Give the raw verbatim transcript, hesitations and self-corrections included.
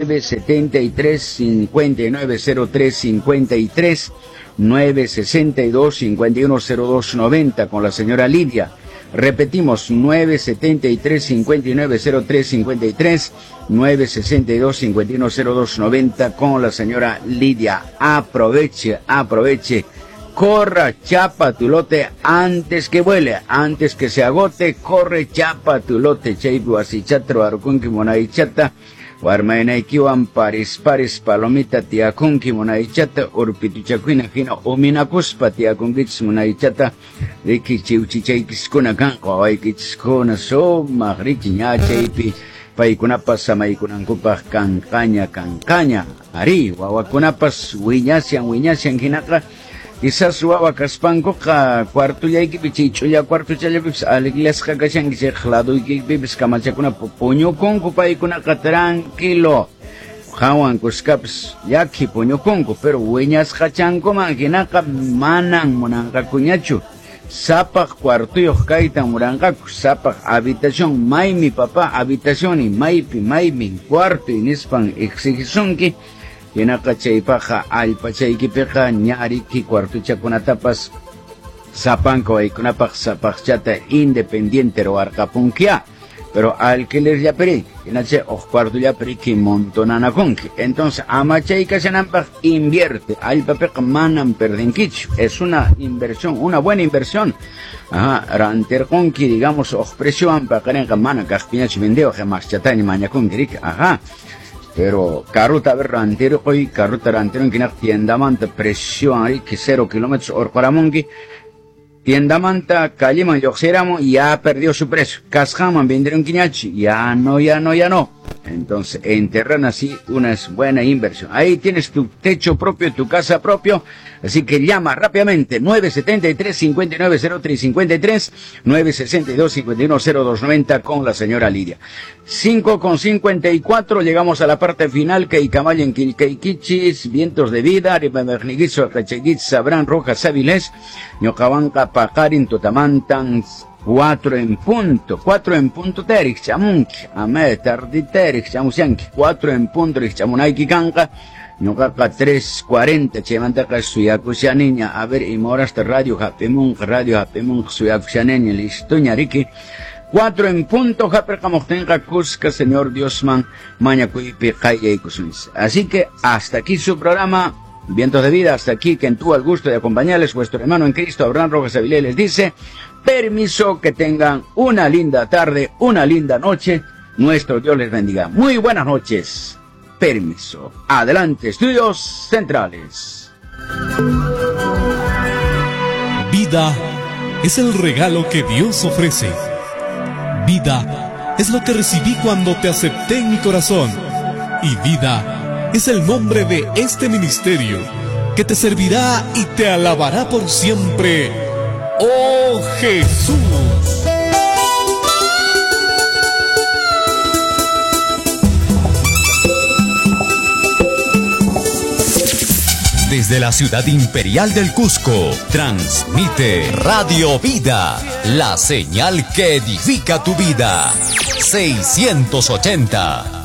nueve setenta y tres, cincuenta y nueve cero tres cincuenta y tres, nueve sesenta y dos, cincuenta y uno cero dos noventa con la señora Lidia. Repetimos, nueve setenta y tres, cincuenta y nueve cero tres cincuenta y tres, nueve sesenta y dos, cincuenta y uno cero dos noventa con la señora Lidia. Aproveche, aproveche. Corra, chapa tu lote antes que vuele, antes que se agote. Corre, chapa tu lote. Chaypu asichatro arkunki munaychata. Warmaynaykiwan paris paris palomita tiyakunki munaychata, urpituchakuina hina uminakuspa tiyakunkichis munaychata, riki chiwchichaykiskuna kanqa wawaykichiskuna sumaq riki ña chaypi paykunapas samaykunankupaq kanqaña kanqaña. Ari wawakunapas wiñasyan wiñasyan hinaqa quizás wawa kaspankuqa cuartollaykipi chay ch'ulla cuartochallapipis aleglasqa kashanki chayqa ladoykipipis kamachakuna puñukunku paykunaqa tranquilo hawan kuskapis llaki puñukunku, pero wiñasqachankuman hinaqa manan munanqakuñachu. Sapaq cuartuyuq kaytan muranqaku, sapaq habitación, maymi papá habitación maypi maymi cuarto nispan exigisunki. Hinaqa chaypaqa allpachaykipiqa ñariki cuartuchakunatapas sapanka waykunapaq sapaqchata independiente ruwarqapunkiya, pero alquilerllapiri hinacha uq cuartollapiriki montonanakunki. Entonces ama chay kashananpaq invierte, allpapiqa manam perdinkichu, es una inversión, una buena inversión. Ajá, rantirqunki digamos uq preciowan paqarinqa mana kaqpiñachu vendewaq maschataña mañakunki riki. Ajá. Pero carruta a ver rantirqoy, carruta rantirunki naq tiendamanta precio riki cero kilómetros orqaramunki, tiendamanta calleman lluqsiramun ya perdió su precio, kasqanman venderunki ñachi, ya no, ya no, ya no. Entonces, enterran así una buena inversión. Ahí tienes tu techo propio, tu casa propio. Así que llama rápidamente nueve setenta y tres, cincuenta y nueve cero tres cincuenta y tres, nueve sesenta y dos, cincuenta y uno cero dos noventa con la señora Lidia. cinco con cincuenta y cuatro, llegamos a la parte final. Keikamayen Kilkeikichis, Vientos de Vida, Ripamerniguizo, Cacheguitz, Sabrán Rojas Avilés, Ñocabanca, Pacarin, Totamantan, cuatro en punto, cuatro en punto terix, chamunki, ame tardi terix, chamusianki, cuatro en punto, chamunaiki kanka, ñuqaqa tres cuarenta, chaymantaqa suyakushaniña, a ver, imorasta radio hapimunqa, radio hapimunqa, suyakushaniña, listoña riki. Cuatro en punto, hapirqamuqtinqa kuska, Señor Diosman, mañakuypi qayllaykusunchis. Así que hasta aquí su programa Vientos de Vida, hasta aquí quien tuvo el gusto de acompañarles, vuestro hermano en Cristo, Abraham Rojas Avilés, les dice, permiso, que tengan una linda tarde, una linda noche, nuestro Dios les bendiga. Muy buenas noches, permiso. Adelante, Estudios Centrales. Vida es el regalo que Dios ofrece. Vida es lo que recibí cuando te acepté en mi corazón. Y vida es el nombre de este ministerio que te servirá y te alabará por siempre. ¡Oh Jesús! Desde la ciudad imperial del Cusco, transmite Radio Vida, la señal que edifica tu vida. seiscientos ochenta.